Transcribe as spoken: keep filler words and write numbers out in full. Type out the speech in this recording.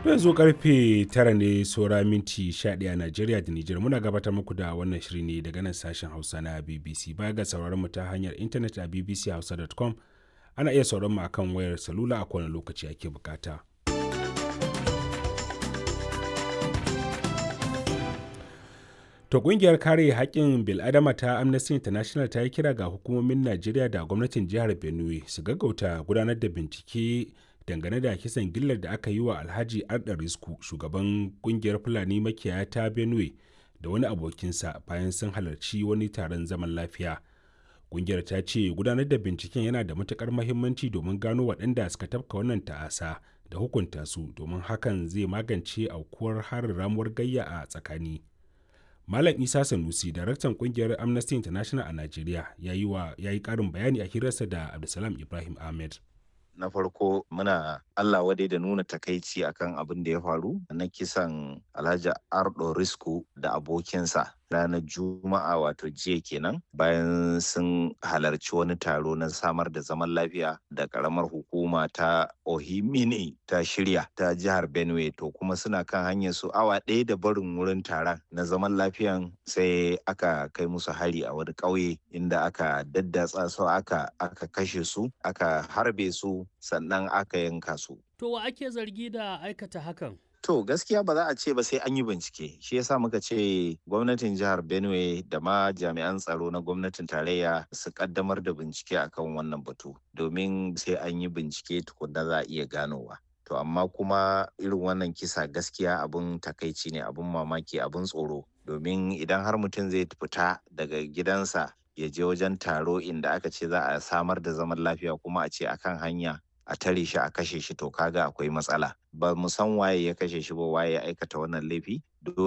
Yanzu karfe tara ne saura minti sha ɗaya a Najeriya da Nijar. Muna gabatar muku da wannan shiri ne daga nan sashen Hausa na B B C. Baya ga sauraron mu ta hanyar intanet a B B C hausa dot com, ana iya sauraron mu akan wayar salula a kowane lokaci ake bukata. To, kungiyar kare haƙƙin bil'adama ta Amnesty International ta yi kira ga hukumomin Najeriya da gwamnatin jihar Benue su gaggauta gudanar da bincike dangane da kisan gillar da aka yi wa Alhaji Arda Risku, shugaban kungiyar Fulani makiyaya ta Benue, da wani abokinsa bayan sun halarci wani taron zaman lafiya. Kungiyar ta ce gudanar da binciken yana da matukar mahimmanci domin gano waɗanda suka tafka wannan ta'asa da hukunta su, domin hakan zai magance aukuwar harin ramuwar gayya a tsakani. Malam Isa Sanusi, daraktan kungiyar Amnesty International a Najeriya, ya yi wa ya yi ƙarin bayani a hirarsa da Abdulsalam Ibrahim Ahmed. Na farko, muna Allah wadai da nuna takaici akan abin da ya faru na kisan Alhaji Ardo Risku da abokinsa ranar Juma'a, wato jiya kenan, bayan sun halarci wani taro na samar da zaman lafiya da karamar hukuma ta Ohimini ta shirya ta jihar Benue. To, kuma suna kan hanyar su awa ɗaya da barin wurin taron na zaman lafiyan, sai aka kai musu hari a wani ƙauye inda aka daddatsa su, aka aka kashe su, aka harbe su, sannan aka yanka su. To, wa ake zargi da aikata hakan? To, gaskiya ba za a ce ba sai an yi bincike. Shi yasa muka ce gwamnatin jihar Benue da ma jami'an tsaro na gwamnatin tarayya su kaddamar da bincike akan wannan batu, domin sai an yi bincike tukunna za a iya ganowa. To, amma kuma irin wannan kisa gaskiya abun takaici ne, abun mamaki, abun tsoro. Domin idan har mutum zai fita daga gidansa ya je wajen taro inda aka ce za a samar da zaman lafiya, kuma a ce akan hanya a tare shi a kashe shi, to kaga akwai matsala. Ba mu san waye ya kashe shi ba, waye ya aikata wannan laifi. Dole